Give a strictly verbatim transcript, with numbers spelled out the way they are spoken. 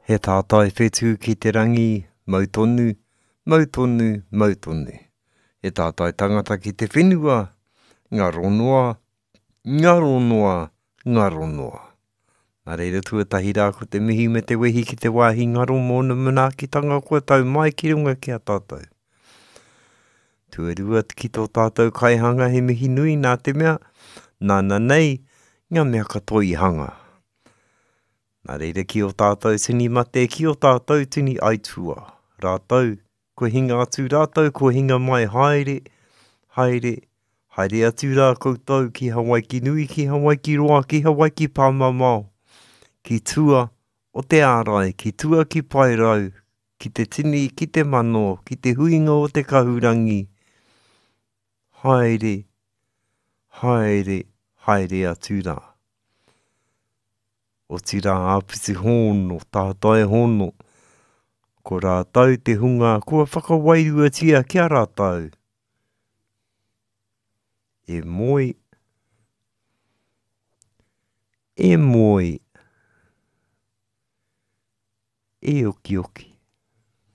He tātai whetū ki te rangi, mau tonu, mau tonu, mau tonu. He tātai tangata ki te whenua, ngaro noa, ngaro noa, ngaro noa. Nā reira tuatahi rā ko te mihi me te wehi ki te wāhi ngaro mōna manaakitanga kua tau mai ki runga ki a tātou. Tuarua ki tō tātou kaihanga he mihi nui nā te mea, nāna nei ngā mea katoa i hanga. Nā reira ki o tātou tini mate, ki o tātou tini aitua. Rātou, kua hinga atu rātou, kua hinga mai haere, haere, haere atu rā koutou ki Hawaiki nui, ki Hawaiki roa, ki Hawaiki pāmamao, ki tua o te ārai, ki tua ki Paerau, ki te tini, ki te mano, ki te huinga o te kahurangi. Haere, haere, haere atu rā. Otirā āpiti hono, tātai hono, ko rātou te hunga kua whakawairuatia ki a rātou. E moe, e moe, e okioki.